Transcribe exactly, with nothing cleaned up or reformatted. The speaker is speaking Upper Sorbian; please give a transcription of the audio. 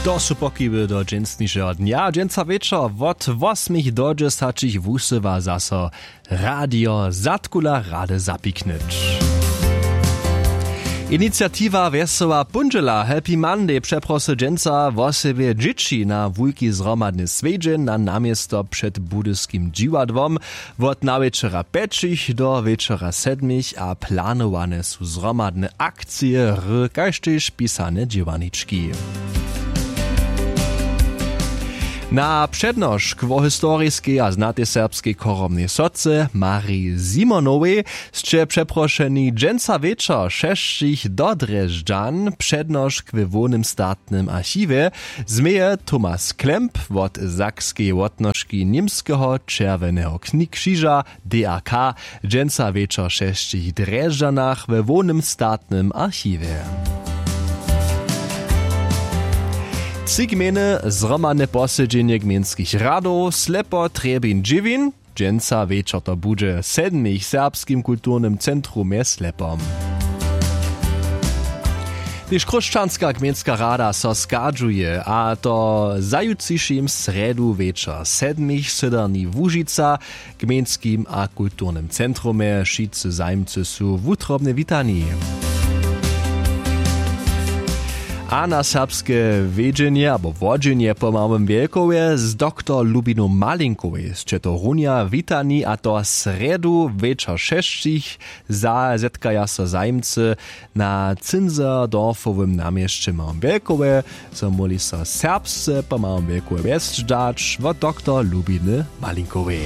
To su pokiwy do dźensnišeho dnja. Dźensa wječor wot wosmich do dźesaćich wusyła zaso radio zadkula rady zapiknyć. Iniciatiwa wjesoła póndźela happy monday přeprosy dźensa wosebje dźěći na wulki zhromadny swjedźeń na naměsto před budyskim dźiwadłom. Wot nawječora pjećich do wječora sedmich a planowane su zhromadne akcije hry kaž tež pisane dźěłarnički. Na přednošk wo historiskej a znatej serbskej chorobnej soce mariji simonowej sće přeprošeni dźensa wječor šesćich do drježdźan přednošk we hłownym statnym archiwje změje thomas klemp wot sakskeje wotnožki němskeho čerwjeneho křiža, d a k, dźensa wječor w šesćich drježdźanach we hłownym statnym archiwje. Tři gmejny zhromadne posedźenje gmejnskich radow slepo trjebin dźěwin. Dźensa wječor to budźe w sedmich w serbskim kulturnym centrumje slepom. Tež chróšćanska gmejnska rada so schadźuje a to za jutřišim srjedu wječor sedmich w syderni łužica w gmejnskim a kulturnym centrumje wšitcy zajimcy su wutrobnje witani. A na serbske wědźenje abo wodźenje po małym wjelkowje z doktor lubinu malinkowej sće to runja witani a to srjedu wječor šesćich. Za zetkaja so zajimcy na cynserdorfowym namjesće małym wjelkowje, zo móhli so serbsce po małym wjelkowje wjesć dać wot doktor lubiny malinkowej.